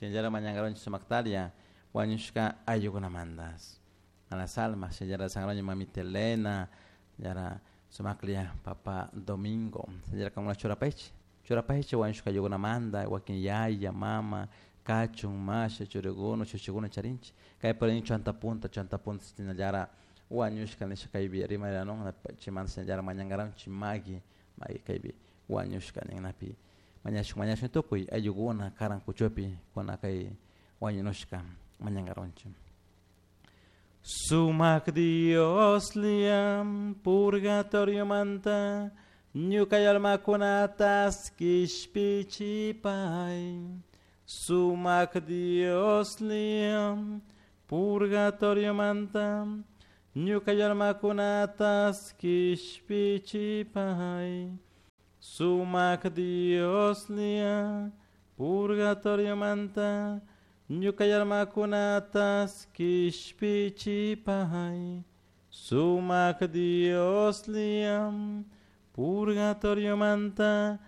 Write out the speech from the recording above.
Shinallara mañankaronchik sumaktaria wañushka ayllukunamantas. A las almas, shinallara sangraño mamita Elena, yara sumaklia papa Domingo, shinallara kankuna churapaychik, churapaychik wañushka ayllukunamanta, wakin yaya, mama, kachun, masha, churikuna, chuchikuna charinchik, kay por chanta punta, chanta punta shinallara wañushka nisha kaypi rimarinun chaymanta shinallara mañankaranchik maki, maki kaypi wañushka ninapi mañashun mañashun tukuy ayllukuna karan kuchupi kuna kay wañunushka mañankaranchik. Sumak Dios liam purgatorio manta ñuka almakunatas kishpichipay. Sumak Dios liam purgatorio manta ñuka almakunatas kishpichipay. Sumak Dios lia purgatorio manta ñuka almakunatas kishpichipay. Sumak Dios liam purgatorio manta